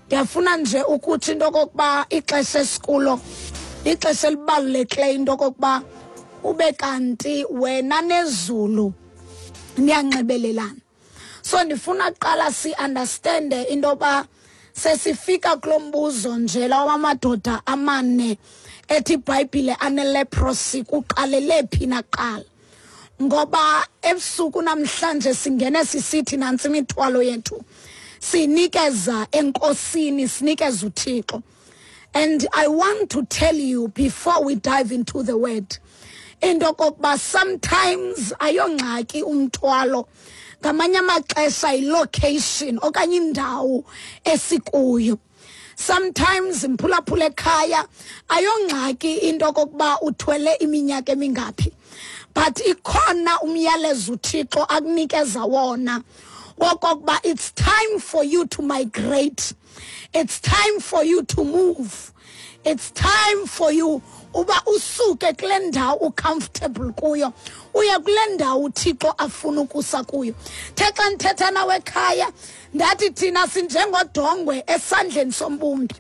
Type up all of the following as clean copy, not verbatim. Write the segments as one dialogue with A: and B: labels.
A: Ndiyafuna nje ukuthi into okokuba ixesha esikulo lixesha elibalulekileyo into okokuba ube kanti wena nezulu niyanxibelelana. So ndifuna kuqala si-understande into yoba sesifika kulo mbuzo nje lawa madoda amane ethi iBhayibhile aneleprosy kuqalele phi naqala. Ngoba ebusuku namhlanje singene sisithi nantsi imithwalo yethu, sinikeza enkosini, sinikeza uThixo. And I want to tell you before we dive into the word, into okokuba sometimes ayongxaki umthwalo, ngamanye amaxesha yilocation okanye indawo esikuyo. Sometimes mphulaphula ekhaya ayongxaki into okokuba uthwele iminyaka emingaphi, but ikhona umyalezo uThixo akunikeza wona wokokuba it's time for you to migrate, it's time for you to move, it's time for you uba usuke kule ndawo ucomfortable kuyo uye kule ndawo uThixo afuna ukusa kuyo. The xa ndithetha nawe ekhaya ndathi thina sinjengodongwe esandleni sombumbi,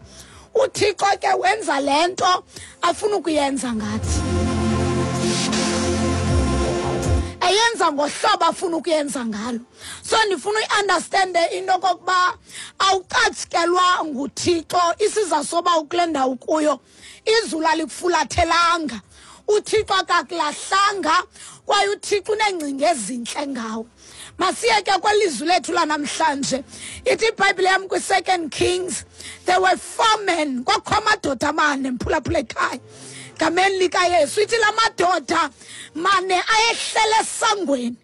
A: uThixo ke wenza le nto afuna ukuyenza ngathi, eyenza ngohlobo afuna ukuyenza ngalo. So ndifuna uyiunderstande into okokuba awucatshikelwa nguThixo isiza soba ukule ndawo kuyo, izulu alikufulathelanga, uThixo akakulahlanga, kwaye uThixo uneengcinga ezintle ngawe. Masiye ke kwelizwi lethu lanamhlanje. Ithi iBhayibhile yam kwi-2 Kings, there were 4 men, kwakho amadoda amane, mphulaphula ekhaya, gameni likaYesu. Ithi la madoda mane ayehlele esangweni.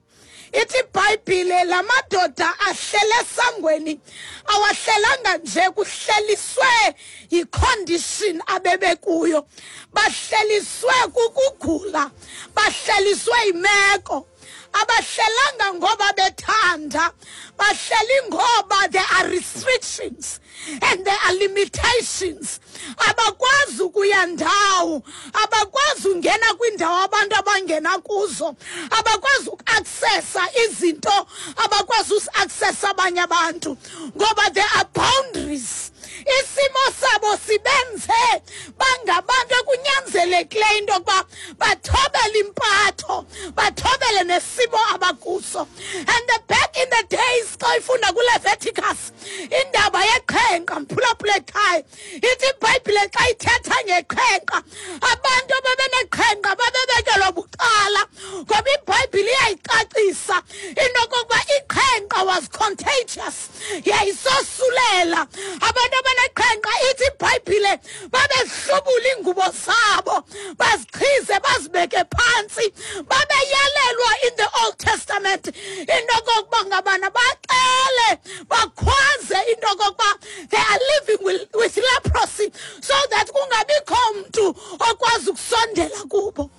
A: Ithi iBhayibhile la madoda ahlele esangweni, awahlelanga nje, kuhleliswe yicondition abebekuyo, bahleliswe kukugula, bahleliswe yimeko. Abahlelanga ngoba bethanda, bahleli ngoba there are restrictions and there are limitations. Abakwazi ukuya ndawo, abakwazi ungena kwindawo abantu abangena kuzo, abakwazi uku-accessa izinto abakwazi uku-accessa abanye abantu, ngoba there are boundaries. Isimo sabo sibenze bangabantu ekunyanzelekileyo into yokuba bathobele impatho, bathobele nesimo abakuso. And the back in the days, xa ifunda kuLeviticus, indaba yeqhenqa, mphulaphula ekhaya, ithi iBhayibhile xa ithetha ngeqhenqa, abantu ababeneqhenqa babebekelwa bucala, ngoba iBhayibhile iyayicacisa into yokokuba iqhenqa was contagious, yayisosulela. Abantu abaneqhenqa, ithi iBhayibhile, babehlubula iingubo zabo, baziqhize, bazibeke phantsi. Babeyalelwa in the Old Testament into okokuba ngabana baxele, bakhwaze into okokuba they are living with leprosy, so that kungabikho mntu okwazi ukusondela kubo.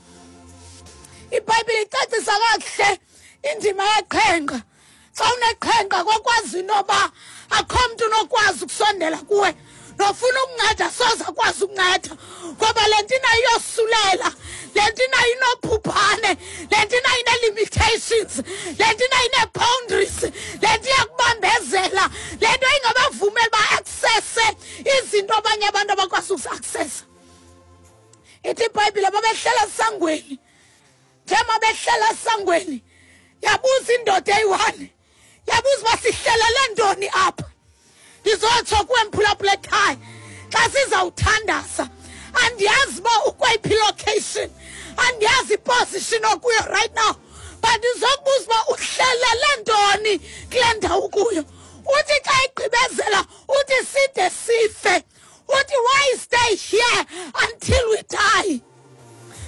A: iBhayibhile icacisa kakuhle indima yeqhenqa. Xa uneqhenqa kwakwazi inoba akho mntu unokwazi ukusondela kuwe, nofuna ukunceda soze akwazi ukunceda, ngoba le nto inayo iyosulela, le nto inayo inobhubhane, le nto inayo ine-limitations, le nto inayo ine-boundaries, le nto iyakubambezela, le nto ingabavumeli ba-accesse izinto abanye abantu abakwazi ukuzi-accessa. Ithi iBhayibhile babehlela esangweni, njengoba behlela esangweni, yabuza indoda eyi-1, yabuza uba sihlelele ntoni apha. Ndizotsho kuwe mphulaphula ekhaya, xa sizawuthandaza, andiyazi uba ukweyiphi location, andiyazi iposition okuyo right now, but ndizokubuza uba uhlelele ntoni kule ndawo ukuyo. Uthi xa igqibezela, uthi side sife, uthi why stay here until we die?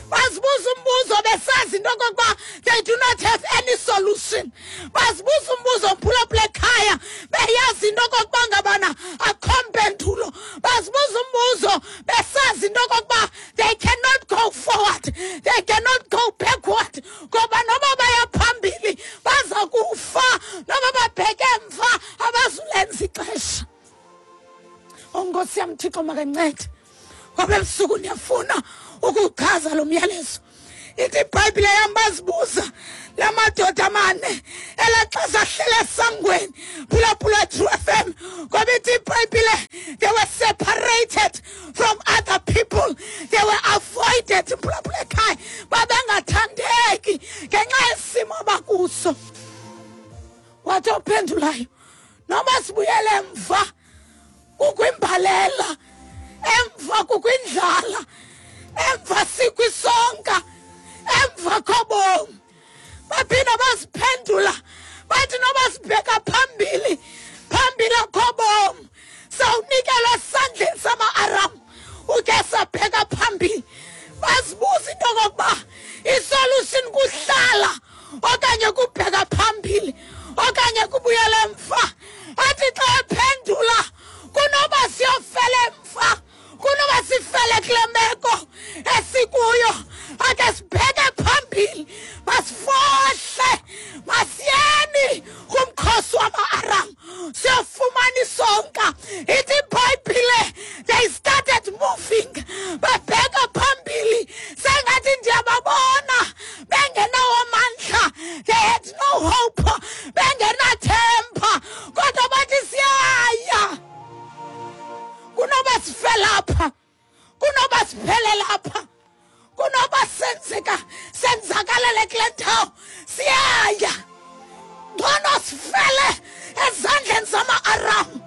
A: Bazibuza umbuzo besazi into okokuba they do not have any solution. Bazibuza umbuzo mphulaphula ekhaya beyazi into okokuba ngabana akho mpendulo. Bazibuza umbuzo besazi into okokuba they cannot go forward, they cannot go backward, ngoba noba baya phambili baza kufa, noba babheke emva abazulenza ixesha. Nkosi yam Thixo makancede, ngoba ebusuku ndiyafuna ukuchaza lo myalezo. Ithi iBhayibhile yam bazibuza la madoda amane elaa xesha ahlele esangweni, phulaphula True FM, ngoba ithi iBhayibhile isolated from other people. They were avoided. Mphulaphula ekhaya, babengathandeki ngenxa yesimo abakuso. Wathi ophendulayo, noma sibuyele emva kukwimbalela, emva kukwindlala, emva sikwisonka, emva kobomi. Baphinda baziphendula bathi noba sibheka phambili, phambili akho bomi, sawunikelwa esandleni sama-Aram. Uke sabheka phambili, bazibuza into okokuba isolution kuhlala okanye kubheka phambili okanye kubuyela emva. Athi xa ephendula, kunoba siyofela emva, kunoba sifele kule meko esikuyo, ake sibheke phambili, masifohle, masiyeni kumkhosi wama-Aram siyofumana isonka. Ithi iBhayibhile, they started moving, babheka phambili. Sengathi ndiyababona bengenawo amandla, they had no hope, bengenathemba, kodwa bathi siyaya, kunoba sifele apha, kunoba siphele lapha, kunoba senzeka senzakalele kule ndawo, siyaya. Ngcono sifele ezandleni zama-Aram,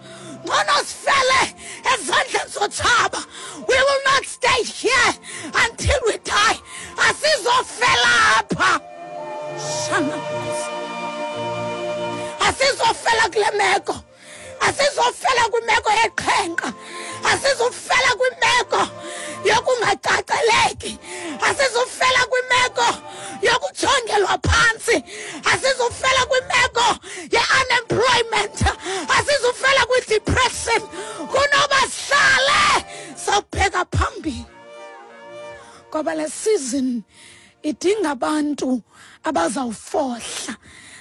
A: ngcono sifele ezandleni zotshaba. We will not stay here until we die. Asizofela apha. Shana, asizofela kule meko, asizofela kwimeko yeqhenqa, asizofela kwimeko yokungacaceleki, asizofela kwimeko yokujongelwa phantsi, asizofela kwimeko ye-unemployment, asizofela kwi-depression. Kunoba sihlale, sawubheka phambili, ngoba le season idinga abantu abazawufohla,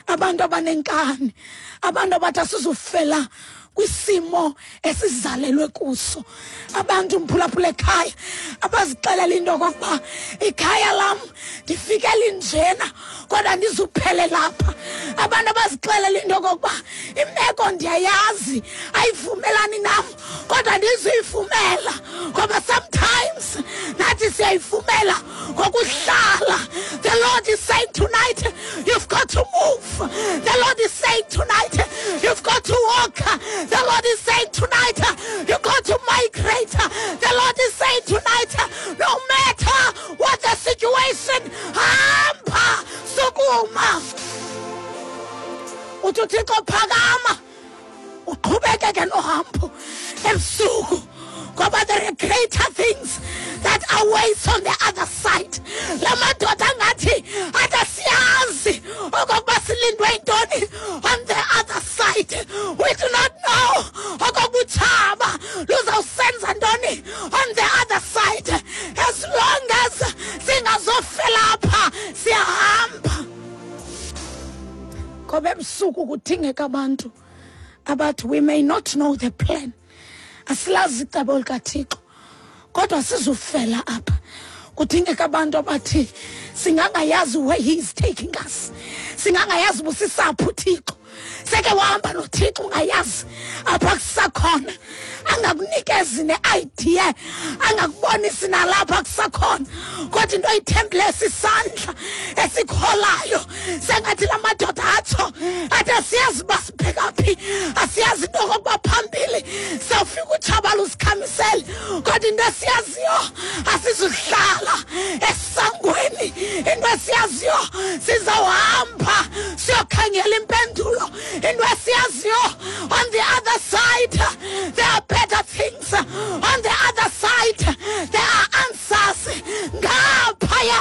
A: abantu abanenkani, abantu abathi asizufela kwisimo esizalelwe kuso, abantu, mphulaphula ekhaya, abazixelela into okokuba ikhaya lam ndifike linjena kodwa ndizuphele lapha, abantu abazixelela into okokuba imeko ndiyayazi ayivumelani nam kodwa ndizuyivumela, ngoba sometimes nathi siyayivumela ngokuhlala. The Lord is saying tonight, you've got to move. The Lord is saying tonight, you've got to walk. The Lord is saying tonight, you've got to migrate. The Lord is saying tonight, no matter what the situation, hamba, sukuma. Uthi uThixo, phakama uqhubekeke nohambo ebusuku, ngoba there are greater things that awaits on the other side. La madoda angathi athi asiyazi okokuba silindwe yintoni on the other side. We do not know okokuba utshaba luzawusenza ntoni on the other side. As long as singazofela apha, siyahamba, ngoba ebusuku kudingeka abantu abathi we may not know the plan, asilazi icebo likaThixo, kodwa sizufela apha. Kudingeka abantu abathi singangayazi where he is taking us, singangayazi busisaphi uThixo. Seke wahamba noThixo ungayazi apha kusakhona, angakunikezi ne-idea, angakubonisi nalapha kusakhona, kodwa into oyithembileyo sisandla esikholayo. Sengathi la madoda atsho athi asiyazi uba sibheka phi, asiyazi into okokuba phambili sawufika utshaba lusikhamisele, kodwa into esiyaziyo, asizuhlala esangweni. Into esiyaziyo, sizawuhamba siyokhangela impendulo. Into esiyaziyo, on the other side there are better things. On the other side there are answers. Ngaphaya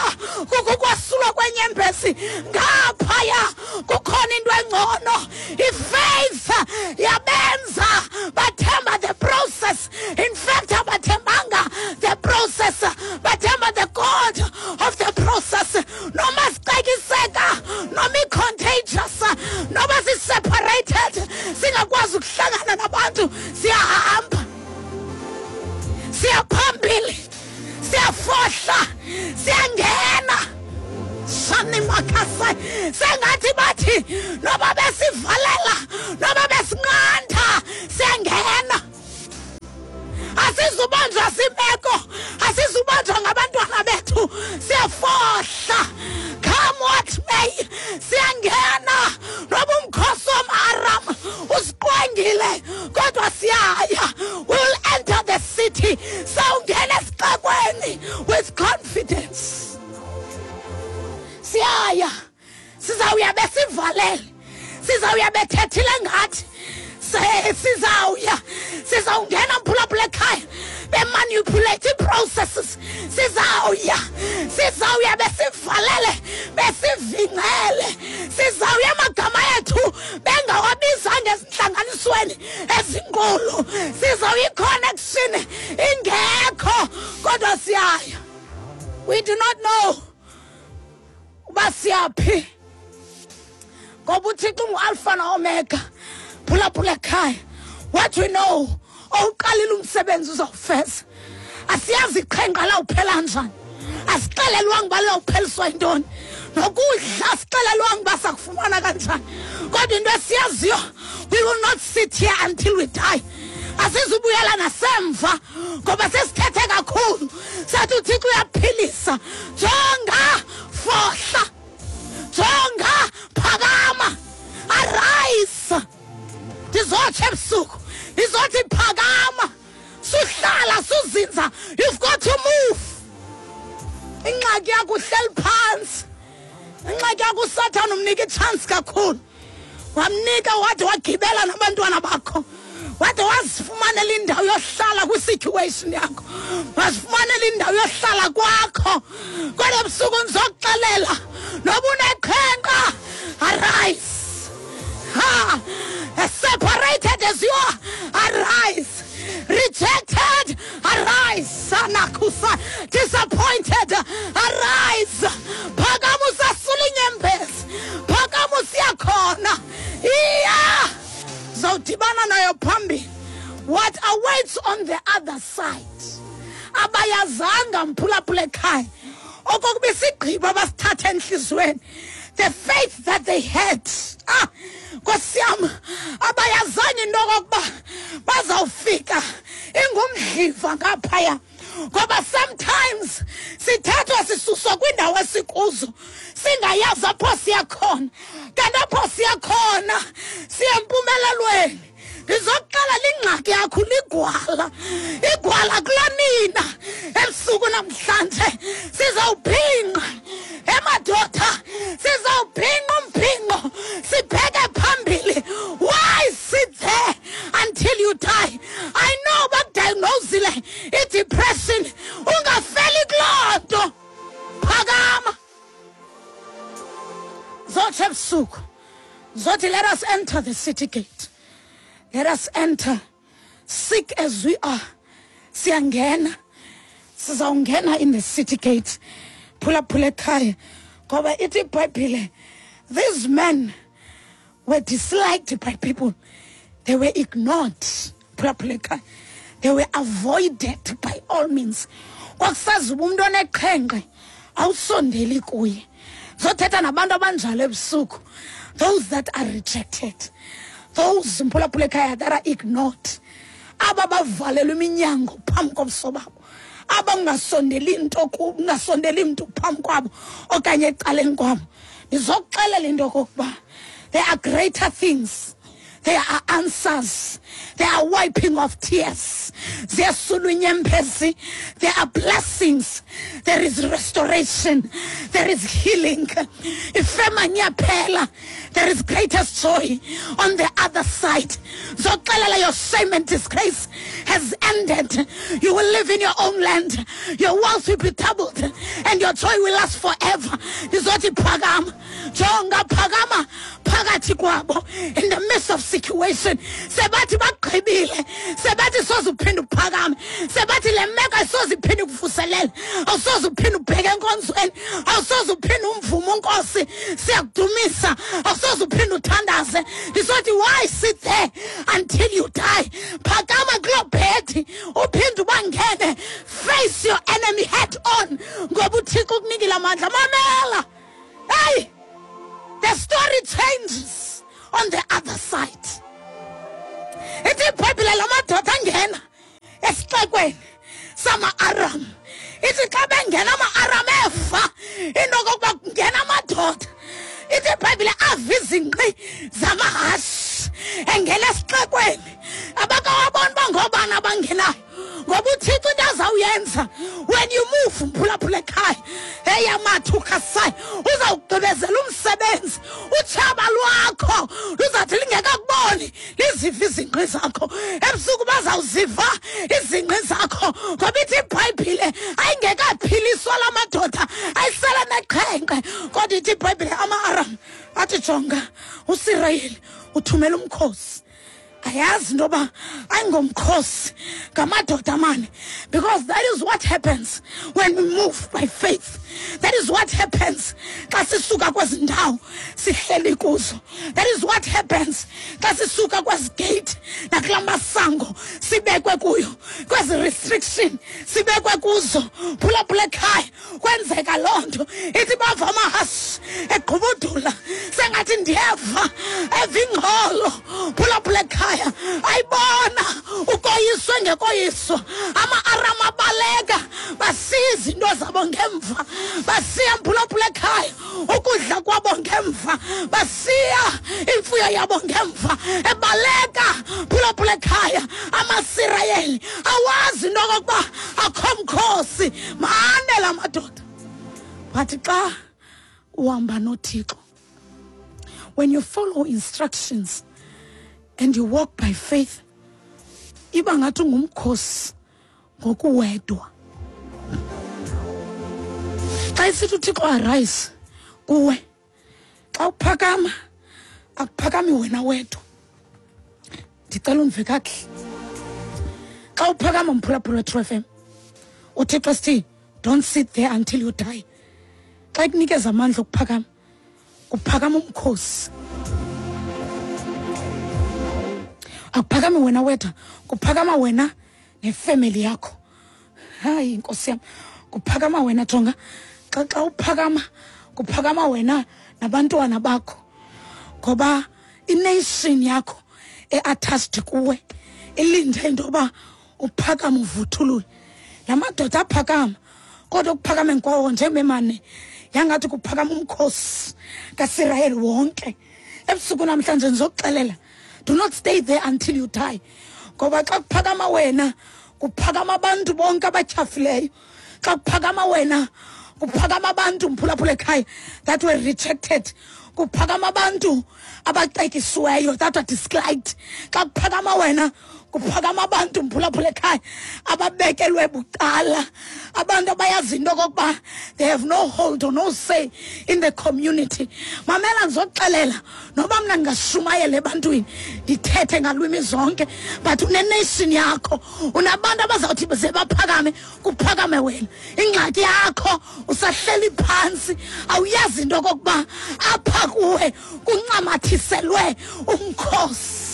A: kukho ukwasulwa kwenyembezi, ngaphaya kukhona into engcono. Ifaith yabenza bathemba the process. In fact, abathembanga the process, bathemba the God of the process. Noma sicekiseka, noma i-contagious, noma si-separated, singakwazi ukuhlangana. Asizubanjwa simeko, asizubanjwa ngabantwana bethu. Siyafohla. Come what may, siyangena noba umkhosi womAram usiqwengile, kodwa siyaya. We will enter the city. Sawungena esixekweni with confidence. Siyaya. Sizawuya besivalele. Sizawuya bethethile ngathi. Sizawuya. Sizawungena mphulaphula ekhaya bemanipulate processes. Sizawuya. Sizawuya besivalele, besivingcele. Sizawuya amagama ethu bengawabizanga ezintlanganisweni ezinkulu. Sizawuya i-connection ingekho, kodwa siyaya. We do not know uba siyaphi, ngoba uThixo ungu-Alpha no-Omega. Phulaphula ekhaya. What we know, owuqalile umsebenzi uzawufeza. Asiyazi iqhenqa lawuphela njani. Asixelelwanga uba lawupheliswa yintoni. Nokudla asixelelwanga uba sakufumana kanjani. Kodwa into esiyaziyo, we will not sit here until we die. Asizubuyela nasemva ngoba sesithethe kakhulu. Sathi uThixo uyaphilisa. Jonga, fohla. Jonga, phakama. Arise. Ndizotsho ebusuku, ndizothi phakama. Suhlala, suzinza. You've got to move. Ingxaki yakho uhleli phantsi. Ingxaki yakho uSathane umnika itshansi kakhulu. Wamnika wade wagibela nabantwana bakho. Wade wazifumanela indawo yohlala kwi-situation yakho. Wazifumanela indawo yohlala kwakho. Kodwa ebusuku ndizokuxelela, noba uneqhenqa, arise. Ha! As separated as you are, arise. Rejected, arise. Anakusa. Disappointed, arise. Phakama usasula inyembezi. Phakama usiyakhona. Iya. Zawudibana nayo phambili. What awaits on the other side? Abayazanga mphulaphula ekhaya. Okokuba isigqibo abasithatha enhliziyweni. The faith that they had. Ah, Nkosi yam, abayazanga into okokuba bazawufika ingumdliva ngaphaya. Ngoba sometimes sithathwa sisuswa kwindawo esikuzo singayazi apho siya khona. Kanti apho siya khona siya empumelelweni. Ndizokuxela lingxaki yakho ligwala. Igwala kulanina ebusuku namhlanje sizawubhinqa. Emadoda sizawubhinqa umbhinqo sibheke phambili. Why sit there until you die? I know bakudiagnosile i-depression. Ungafeli kuloo nto. Phakama. Zotsho ebusuku. Zothi let us enter the city gate. Let us enter, sick as we are. Siyangena. Sizawungena in the city gate. Phulaphula ekhaya. Ngoba ithi iBhayibhile, these men were disliked by people. They were ignored. Phulaphula ekhaya. They were avoided by all means. Kwakusazi uba umntu oneqhenqe awusondeli kuye. Zothetha nabantu abanjalo ebusuku. Those that are rejected. Those mphulaphula ekhaya that are ignored. Aba bavalelwe iminyango phambi kobuso babo. Aba ungasondeli into kubo, ungasondeli mntu phambi kwabo okanye ecaleni kwabo. Ndizokuxelela into okokuba there are greater things. There are answers. There are wiping of tears. Ziyasulwa inyembezi. There are blessings. There is restoration. There is healing. Ifema iyaphela. There is greatest joy on the other side. Zoxelela your shame and disgrace has ended. You will live in your own land. Your wealth will be doubled and your joy will last forever. Ndizothi phakama. Jonga phakama phakathi kwabo in the midst of situation. Sebathi bagqibile. Sebathi soze uphinde uphakame. Sebathi le meko ayisoze iphinde ikuvuselele. Awusoze uphinde ubheke enkonzweni. Awusoze uphinde umvume uNkosi. Siyakudumisa. Awusoze uphinde uthandaze. Ndizothi why sit there until you die? Phakama kuloo bhedi uphinde ubangene. Face your enemy head on. Ngoba uThixo ukunikile amandla. Mamela. Hey! The story changes on the other side. Ithi iBhayibhile la madoda angena esixekweni. esixekweni sama-Aram. Ithi xa bengena ama-Aram eva into okokuba kungena amadoda, ithi iBhayibhile ava izingqi zamahashe engena esixekweni. Abakawaboni uba ngoobani abangenayo, ngoba uThixo into azawuyenza when you move, mphulaphula ekhaya, eyamathukasayo, uzawugqibezela umsebenzi. Utshaba lwakho luzawuthi lingekakuboni liziva izingqi zakho. Ebusuku bazawuziva izingqi zakho, ngoba ithi iBhayibhile ayingekaphiliswa la madoda, ayisele neqhenqe. Kodwa ithi iBhayibhile ama-Aram athi, jonga, uSirayeli uthumela umkhosi. Ayazi into yoba ayingomkhosi, ngamadoda amane, because that is what happens when we move by faith. That is what happens xa sisuka kwezi ndawo sihleli kuzo. That is what happens xa sisuka kwezi gate nakula masango sibekwe kuyo, kwezi restriction sibekwe kuzo. Phulaphula ekhaya, kwenzeka loo nto. Ithi bava amahashe eqhubudula, sengathi ndiyeva eva ingxolo. Phulaphula ekhaya, ayibona ukoyiswe ngekoyiswa. Ama-Aram abaleka, basiya izinto zabo ngemva, basiya, mphulaphula ekhaya, ukudla kwabo ngemva, basiya imfuyo yabo ngemva, ebaleka. Phulaphula ekhaya, amaSirayeli awazi into okokuba akho mkhosi, mane la madoda. But xa uhamba noThixo, when you follow instructions and you walk by faith, iba ngathi ungumkhosi ngokuwedwa. Xa isithi uThixo arise kuwe, xa uphakama akuphakami wena wedwa. Ndicela undive kakuhle. Xa uphakama, mphulaphula True FM, uThixo sithi don't sit there until you die. Xa ikunikeza amandla okuphakama, kuphakama umkhosi. Akuphakami wena wedwa, kuphakama wena nefemeli yakho. Hayi, inkosi yam, kuphakama wena. Jonga, xa uphakama, kuphakama wena nabantwana bakho, ngoba ination yakho e-attached kuwe ilinde into yoba uphakame uvuthulule. La madoda aphakama, kodwa ukuphakameni kwawo njengomane yangathi kuphakama umkhosi kaSirayeli wonke. Ebusuku namhlanje ndizokuxelela, do not stay there until you die, ngoba xa kuphakama wena kuphakama abantu bonke abatyhafileyo. Xa kuphakama wena kuphakama abantu, mphulaphula ekhaya, that were rejected. Kuphakama abantu abacekisiweyo, that were disliked. Xa kuphakama wena kuphakama abantu, mphulaphula ekhaya, ababekelwe bucala, abantu abayazi into okokuba they have no hold or no say in the community. Mamela, ndizokuxelela, noba mna ndingashumayela ebantwini ndithethe ngalwimi zonke, but unenation yakho, unabantu abazawuthi ze baphakame, kuphakame wena. Ingxaki yakho usahleli phantsi, awuyazi into okokuba apha kuwe kuncamathiselwe umkhosi.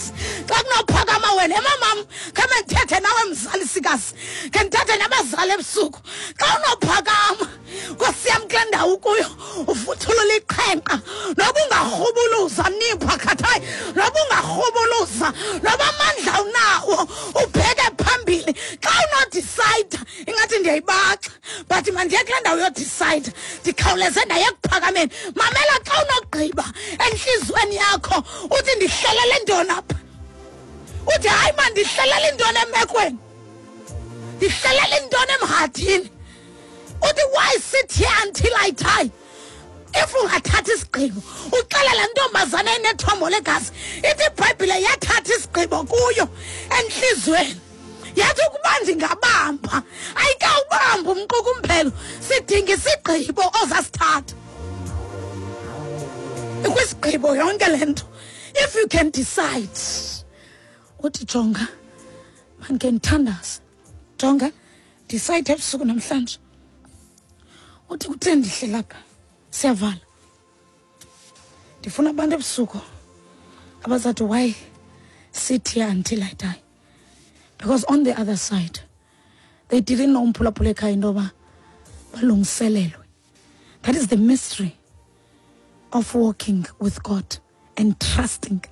A: Xa kunophakama wena, emamam, khame ndithethe nawe mzalisikazi, khe ndithethe nabazali ebusuku. Xa unophakama, nkosi yam, kule ndawo kuyo uvuthulula iqhenqa, noba ungarhubuluza nipha khathayi, noba ungarhubuluza, noba amandla unawo, ubheke phambili. Xa unodicide, ingathi ndiyayibaxa, but mandiye kule ndawo yodicide, ndikhawuleze ndaye ekuphakameni. Mamela, xa unogqiba entliziyweni yakho uthi ndihlelele ntoni apha, uthi hayi ma, ndihlelele intoni emekweni, ndihlelele intoni emhadini, uthi why sit here until I die? If ungathatha isigqibo uxelela ntombazana enethombo legazi, ithi iBhayibhile yathatha isigqibo kuyo entliziyweni, yathi ukuba ndingabamba, ayikawubamba umqukumphelo. Sidinga isigqibo ozasithatha. Ikwisigqibo yonke le nto. If you can decide uthi jonga, mandike ndithandaze, jonga, decide ebusuku namhlanje uthi kutheni ndihleli apha. Siyavala. Ndifuna abantu ebusuku abazathi why sit here until I die? Because on the other side they didn't know, umphulaphula ekhaya, into yoba balungiselelwe. That is the mystery of walking with God and trusting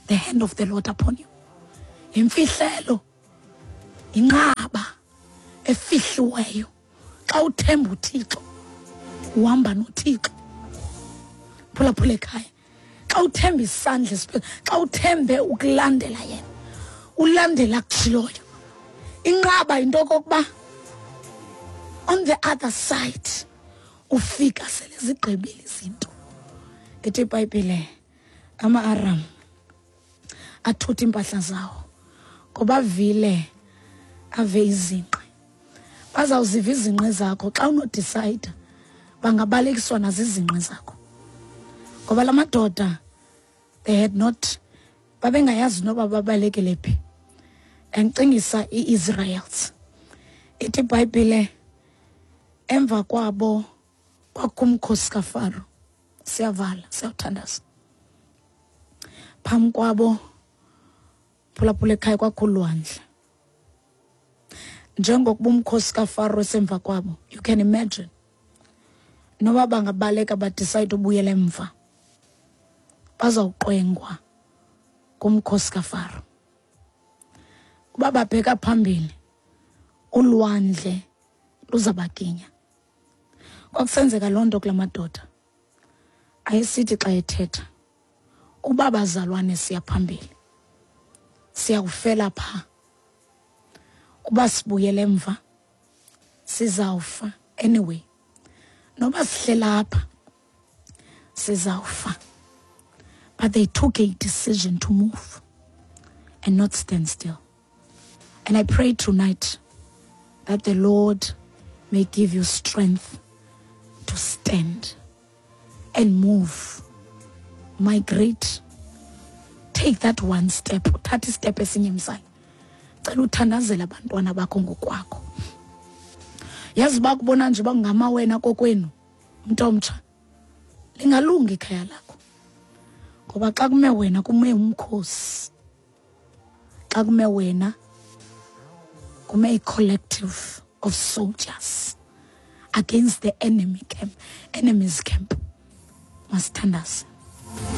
A: the hand of the Lord upon you. Yimfihlelo, inqaba. Efihliweyo. Xa uthemba uThixo, uhamba noThixo. Phulaphula ekhaya. Xa uthemba isandla esiphezulu, xa uthembe ukulandela yena, ulandela akutshiloyo. Inqaba yinto okokuba on the other side ufika sele zigqibile izinto. Ithi iBhayibhile ama-Aram athutha iimpahla zawo ngoba avile ave izinqe. Bazawuziva izinqe zakho xa unodisayida, bangabalekiswa nazizinqe zakho. Ngoba la madoda they had not, babengayazi noba babalekele phi. Yandicingisa i-Israels. Ithi iBhayibhile emva kwabo kwakukho umkhosi kaFaro. Siyavala, siyawuthandaza. Phambi kwabo phulaphula ekhaya kwakho ulwandle. Njengokuba umkhosi kaFaro esemva kwabo, you can imagine. Noba bangabaleka badecide ubuyela emva, bazawuqwengwa ngumkhosi kaFaro. Uba babheka phambili, ulwandle luzabaginya. Kwakusenzeka loo nto kula madoda. Ayesithi xa ethetha, uba bazalwane siya phambili, siyakufela pha. Uba sibuyele emva, sizawufa anyway. Noba sihlela apha, sizawufa. But they took a decision to move and not stand still. And I pray tonight that the Lord may give you strength to stand and move. Migrate. Take that one step. Uthathe istep esinye mzali. Cela uthandazele abantwana bakho ngokwakho. Yazi bakubona nje bangama wena kokwenu, mntu omtsha. Lingalungi ikhaya lakho. Ngoba xa kume wena kume umkhosi. Xa kume wena kume i-collective of soldiers against the enemy camp, enemy's camp. Masithandaze.